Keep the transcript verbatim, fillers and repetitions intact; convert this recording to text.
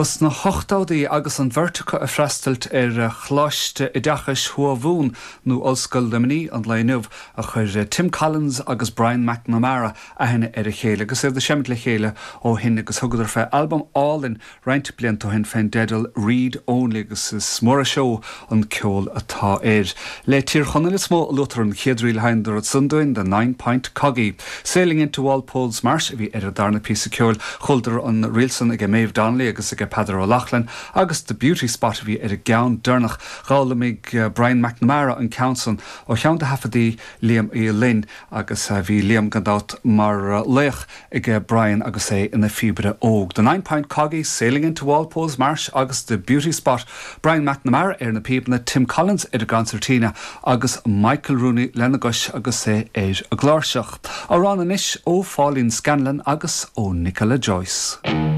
Ba sna hochtóidí agus an bheirt acu ag freastal ar Choláiste Oideachais Thuamhumhan nó Ollscoil Luimnigh an lae inniu a chuir Tim Collins agus Brian McNamara aithne ar a chéile agus iad ag seimint le chéile ó shin agus thugadar fé albam álainn roinnt blianta ó shin fén dteideal Read Only agus is mór an seó an ceol atá air. Le Tír Chonaill is mó a luaitear an chéad ríl a sheinneadar ansan dúinn The Nine Point Coggy. Sailing into Walpole's Marsh a bhí ar an darna píosa ceoil chualadar an ríl san ag Maeve Donnelly agus ag Peadar Ó Laughlin agus The Beauty Spot a bhí ar an gceann deireanach d'fhoghlaimigh eh, Brian McNamara an ceann san ó cheann de thaifeadtaí Liam Uí Fhloinn agus eh, bhí Liam gan dabht mar eh, laoch ag Brian agus é ina phíobaire óg. The Nine Point Coggy Sailing into Walpole's Marsh agus The Beauty Spot. Brian McNamara ar na píobanna Tim Collins ar an gconsairtín agus Michael Rooney lena gcois agus é ar an gcláirseach. Amhrán anois ó Pháilín Scanlon agus ó Nicola Joyce.